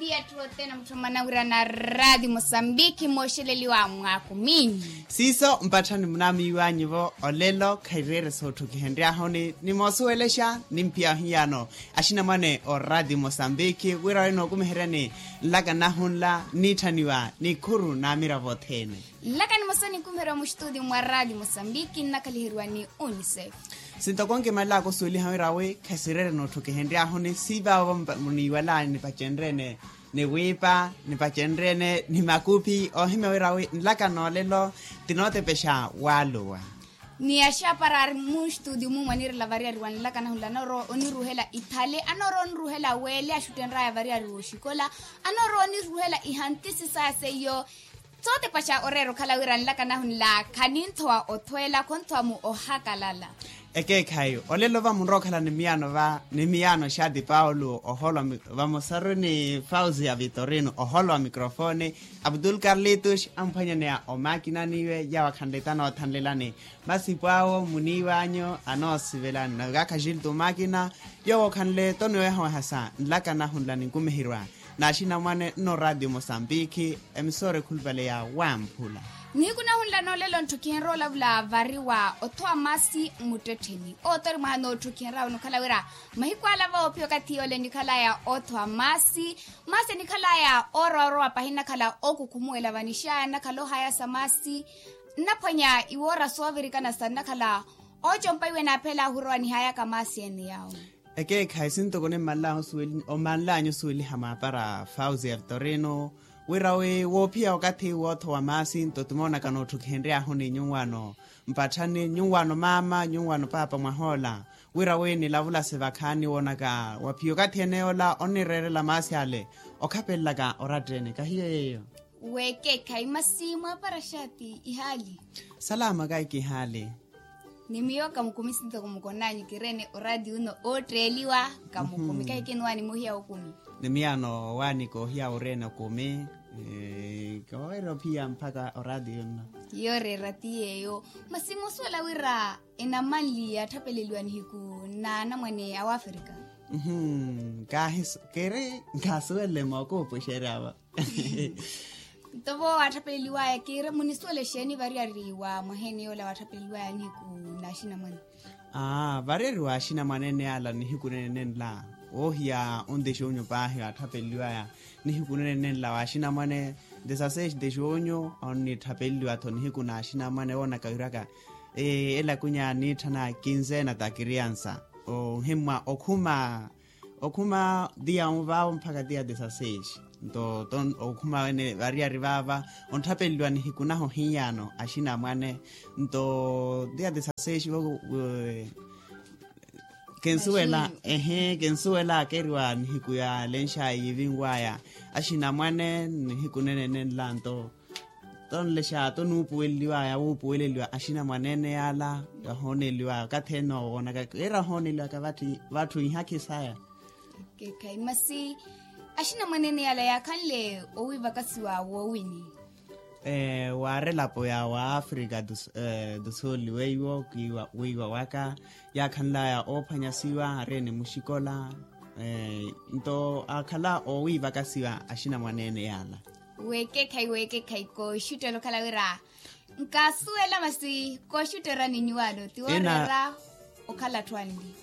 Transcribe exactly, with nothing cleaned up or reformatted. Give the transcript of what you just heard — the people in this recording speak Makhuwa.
Etthu othene mutthu mmanawirana raati mosambikhi mooxeleliwa mwaakumi. Siiso mpatthani munaamiiwanyu-vo olelo khaireere sootthukihenry'ahu ni moosuwelexa nimphiya ohiyano axinamwane oraati mosambikhi wira ori nookumiheryani nlaka nahu nla niitthaniwa ni khuru n'amiravo othene. Nlaka nimosa ninkumiherya muxituti mwa raati mosambikhi nnakhaliheriwa ni unicef. Sintoko nkimalelaka osuweliha wira wi khasireere nootthukihenry'ahu ni siivaavo muniiwalani nipacenryeene ni wiipa nipacenryeene ni makuphi oohimya wira wi nlaka noolelo tinootepexa waluwa. Ni axapara ari muxituti mumwe anirela variyari wa nlaka nahu nla anoorowa oniruhela ithale anoorowa oniruhela weele axuttenry'aya variyari wooxikola anoorowa oniruhela ihantisi saya seiyo. Sootepaxa oreera okhala wira nlaka nahu nla khaninthowa othweela khonthowa mu ohakalala. Ekeekhayi olelo va munrowa okhala ni miyaano va ni miyaano xaati paulo oholwa vamosaru ni fauzi ya vitorino oholwa mikrofoni. Abdul karlitus amphwanyaneya omakinani iwe yawo akhanle tanoothanlelani masipu awo muniiwanyu anoosivelani nakakhajiltu omakina. Yoowo okhanle toniwehawehasa nlaka nahu nla ninkumiherwa n'axinamwane nno raatiyo mosambikhi. Emisora ekhulupale ya wamphula. Nihiku nahu nla noolelo ntthukihenrya olavula vari wa othowa maasi mmuttettheni owo tori mwaha nootthukihenrya wino okhala wira mahiku ala voophiya okathi yole nikhalaya othowa maasi. Maasi enikhalaya oorowa orowa pahi nnakhala okukhumuwela vanixaya nnakhala ohayasa maasi. Nnaphwanya iwoora soovirikana sa nnakhala oocompa iwe naaphela ahurowa nihayaka maasi ene yawo. Ekeekhayi sintoko nimmanlanya osuweliha maapara fauzi ya vitorino wira wi woophiya okathi woothowa maasi nto timoonaka nootthukihenry'ahu ni nyuwano mpatthani nyuwano maama nyuwano paapa mwahoola wira wi nilavulase vakhaani woonaka waphiya okathi ene yoola onireerela maasi ale okhapelelaka oratta ene kahiye yeeyo. Weekeekhayi masi mwaapara xaati ihaali. Salama kahi kihaali. Ni miyo kamukumi sintoko mukonanyu kireene oraati uno ootteeliwa kamukumi kahi kinuwaani muhiya okumi. Ni miyaano waanika ohiya oreene okumi. Koowerya ophiya mpakha oraati uno. Yooreera ti yeeyo. Masi moosuwela wira enamanli yatthapeleliwa nihiku n'anamwane a wafrika. Kaahi kiri nkaasuwele mookuupuxeryava. Nto vo waatthapeleliwaya kiira munisuwela exeeni variyari wa mwaheeni yoola waatthapeleliwaya nihiku n'axinamwane. Aa variyari wa axinamwane ene yaala nihiku nene nenla woohiya onte xunyu paahi waatthapeluwaya nihiku nene nenla wa axinamwane. Desaseis de xunyu onnitthapeleliwa-tho nihiku n'axinamwane woonaka wiraka elakunya niitthana kinzena ta kiriansa. Ohimmwa okhuma okhuma tiya onvaavo mpakha tiya desaseis. Nto okhuma wene variyari vaava ontthapeluwa nihiku nahu ohiyano axinamwane. Nto tiya desaseis kinsuwela ehe kinsuwela akeriwa nihiku ya lenxayi yiivinwaya axinamwane nihiku nene nenla nto tonlexa tonuupuweleliwaya wuupuweleliwa axinamwane ene yaala yahooneliwaya okathi ene owoonaka keera ohooneliwaka vatthu ihaakhi saya. Keekhayi masi axinamwane ene yaala yaakhanle owiivakasiwa woowini? Waarelapo ya wa africa du sul weiwo wiiwa waka yaakhanlaya oophwanyasiwa areene muxikola. Nto aakhala oowiivakasiwa axinamwane ene yaala. Weekekhayi weekekhayi kooxuttela okhala wira nkaasuwela masi kooxutterani nyuwaano ti wooreera okhala atthu anli.